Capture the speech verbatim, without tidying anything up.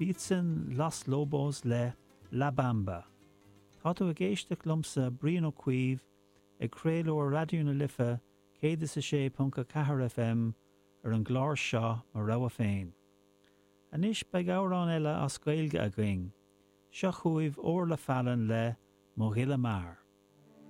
B'iad sin Los Lobos le La Bamba. Tá tú ag éisteacht liomsa Brian Ó Cuív ag craoladh Raidió na Life céad is a sé ponc a ceathair FM ar an gclár seo Mo Rogha Féin. Anois beidh amhrán eile as Gaeilge againn, seo chugaibh Orla Fallon le Mo Ghile Mear.